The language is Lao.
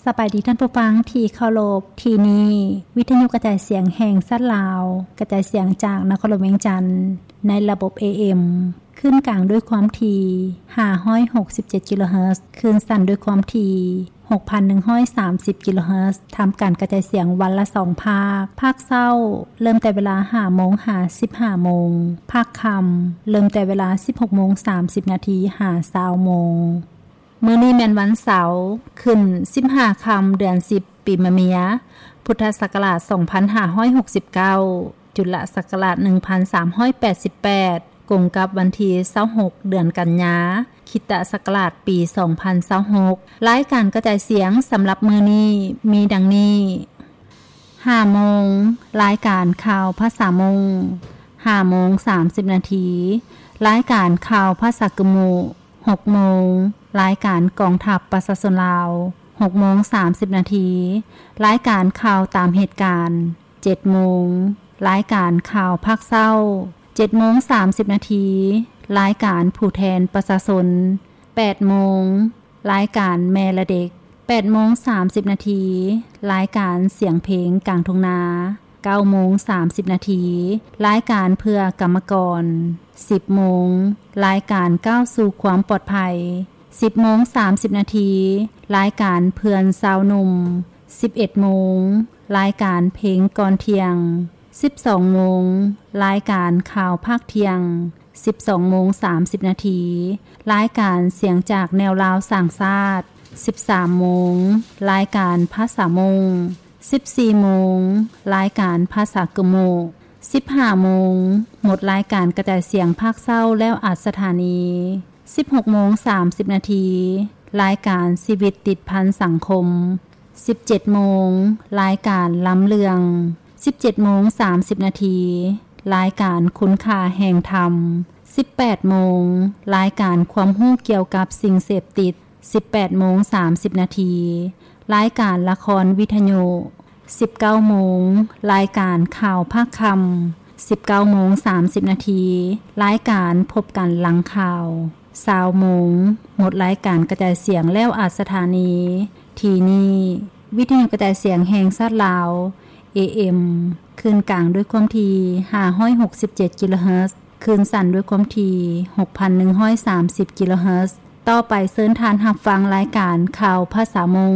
ສະບາຍດີທ່ານຜູ້ຟັງທີ່ເຄົາລົບ, ທີ່ນີ້ວິທະຍຸກະຈາຍສຽງແຫ່ງຊາດລາວ, ກະຈາຍສຽງຈາກນະຄອນຫຼວງວຽງຈັນ ໃນລະບົບ ເອເອັມ ຄື້ນກາງດ້ວຍຄວາມຖີ່ ຫ້າຮ້ອຍຫົກສິບເຈັດ ກິໂລເຮີດ, ຄື້ນສັ້ນດ້ວຍຄວາມຖີ່ ຫົກພັນໜຶ່ງຮ້ອຍສາມສິບ ກິໂລເຮີດ, ທຳການກະຈາຍສຽງວັນລະສອງພາກ, ພາກເຊົ້າເລີ່ມແຕ່ເວລາ ຫ້າໂມງ ຫາ ສິບຫ້າໂມງ, ພາກຄ່ຳເລີ່ມແຕ່ເວລາ ສິບຫົກໂມງ ສາມສິບນາທີ ຫາ ຊາວໂມງ. ມື້ນີ້ແມ່ນວັນເສົາ, ຂຶ້ນສິບຫ້າຄ່ຳ ເດືອນສິບ ປີມະເມຍ, ພຸດທະສັກກະລາດ ສອງພັນຫ້າຮ້ອຍຫົກສິບເກົ້າ, ຈຸລະສັກກະລາດ ໜຶ່ງພັນສາມຮ້ອຍແປດສິບແປດ, ກົງກັບວັນທີ ຊາວຫົກ ເດືອນກັນຍາ, ຄຣິສຕະສັກກະລາດ ປີ ສອງພັນຊາວຫົກ. ລາຍການກະຈາຍສຽງສຳລັບມື້ນີ້ມີດັ່ງນີ້: ຫ້າໂມງ, ລາຍການຂ່າວພາສາມົ້ງ, ຫ້າໂມງ ສາມສິບນາທີ, ລາຍການຂ່າວພາສາກຶມມຸ, ຫົກໂມງ, ລາຍການກອງທັບປະຊາຊົນລາວ, ຫົກໂມງ ສາມສິບນາທີ, ລາຍການຂ່າວຕາມເຫດການ, ເຈັດໂມງ, ລາຍການຂ່າວພາກເຊົ້າ, ເຈັດໂມງ ສາມສິບນາທີ, ລາຍການຜູ້ແທນປະຊາຊົນ, ແປດໂມງ, ລາຍການແມ່ແລະເດັກ, ແປດໂມງ ສາມສິບນາທີ, ລາຍການສຽງເພງກາງທົ່ງນາ, ເກົ້າໂມງ ສາມສິບນາທີ, ລາຍການເພື່ອກຳມະກອນ, ສິບໂມງ, ລາຍການກ້າວສູ່ຄວາມປອດໄພ, ສິບໂມງ ສາມສິບນາທີ, ລາຍການເພື່ອນຊາວໜຸ່ມ, ສິບເອັດໂມງ, ລາຍການເພງກ່ອນທ່ຽງ, ສິບສອງໂມງ, ລາຍການຂ່າວພາກທ່ຽງ, ສິບສອງໂມງ ສາມສິບນາທີ, ລາຍການສຽງຈາກແນວລາວສ້າງຊາດ, ສິບສາມໂມງ, ລາຍການພາສາມົ້ງ, ສິບສີ່ໂມງ, ລາຍການພາສາກຶມມຸ, ສິບຫ້າໂມງ, ໝົດລາຍການກະຈາຍສຽງພາກເຊົ້າແລ້ວອັດສະຖານີ, ສິບຫົກໂມງ ສາມສິບນາທີ, ລາຍການຊີວິດຕິດພັນສັງຄົມ, ສິບເຈັດໂມງ, ລາຍການລຳເລື່ອງ, ສິບເຈັດໂມງ ສາມສິບນາທີ, ລາຍການຄຸນຄ່າແຫ່ງທຳ, ສິບແປດໂມງ, ລາຍການຄວາມຮູ້ກ່ຽວກັບສິ່ງເສບຕິດ, ສິບແປດໂມງ ສາມສິບນາທີ, ລາຍການລະຄອນວິທະຍຸ, ສິບເກົ້າໂມງ, ລາຍການຂ່າວພາກຄ່ຳ, ສິບເກົ້າໂມງ ສາມສິບນາທີ, ລາຍການພົບກັນຫຼັງຂ່າວ, ຊາວໂມງ, ໝົດລາຍການກະຈາຍສຽງແລ້ວອັດສະຖານີ. ທີ່ນີ້ ວິທະຍຸກະຈາຍສຽງແຫ່ງຊາດລາວ, ເອເອັມ, ຄື້ນກາງດ້ວຍຄວາມຖີ່ ຫ້າຮ້ອຍຫົກສິບເຈັດ ກິໂລເຮີດ, ຄື້ນສັ້ນດ້ວຍຄວາມຖີ່ ຫົກພັນໜຶ່ງຮ້ອຍສາມສິບ ກິໂລເຮີດ. ຕໍ່ໄປເຊີນທ່ານຮັບຟັງລາຍການຂ່າວພາສາມົ້ງ.